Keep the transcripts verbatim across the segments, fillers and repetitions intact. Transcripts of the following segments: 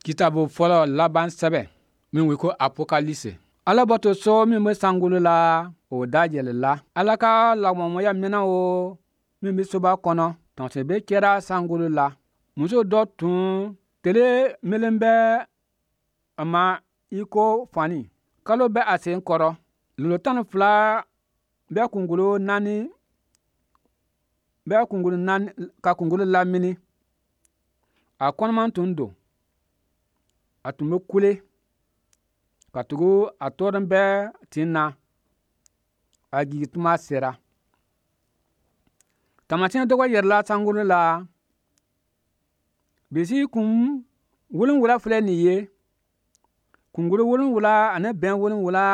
Kitabu fɔlɔ laban sɛbɛn min wele ko Apokalisi. Ala batoso min bɛ sankolo la, o dayɛlɛla. Ala ka lagɔmɔya minɛn o min bɛ soba kɔnɔ, tamasebe kɛra sankolo la. Muso dɔ tun tele melen bɛ a ma i ko fani, kalo bɛ a sen kɔrɔ, lolo tan ni fila bɛ kunkolo naani bɛ kunkolo naani ka kunkolo lamini. A kɔnɔman tun don, a tun bɛ kule katugu a tɔɔrɔlen bɛ tin na, a jigi tuma sera. Taamasiyɛn dɔ yɛrɛla sankolo la, bisi kun wolonwula filɛ nin ye, kunkolo wolonwula ani bɛn wolonwula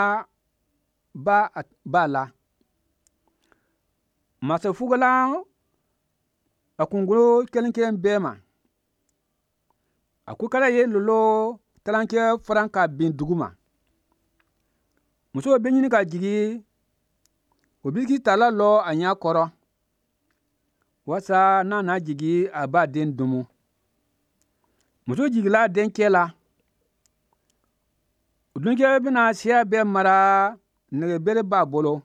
b'a b'a la. Masafugulan a kunkolo kelen kelen bɛɛ ma. A kukala ye lolo tilancɛ faran ka bin duguma. Muso bɛ ɲini ka jigi, o biriki tala lɔ a ɲɛ kɔrɔ, walasa n'a na jigi a b'a den domo. Muso jigila dencɛ la. O dencɛ bɛna siya bɛɛ mara nɛgɛbere b'a bolo.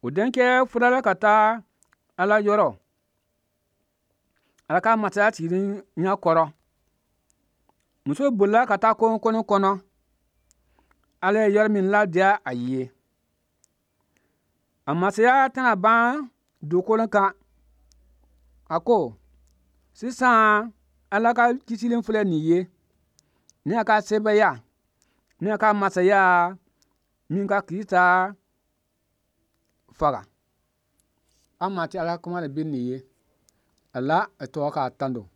O dencɛ furala ka taa Ala yɔrɔ, Ala ka masaya sigilen ɲɛ kɔrɔ. Muso bolila ka taa kungo kɔnɔ, Ala ye yɔrɔ min ladiya a ye. A masaya tɛna ban dugukolo kan. A ko, sisan Ala ka kisili filɛ nin ye, ni a ka sebaaya, ni a ka masaya min ka Krisita faga. An ma ti Ala kuma de bi nin ye. Ala a tɔgɔ k'a tando.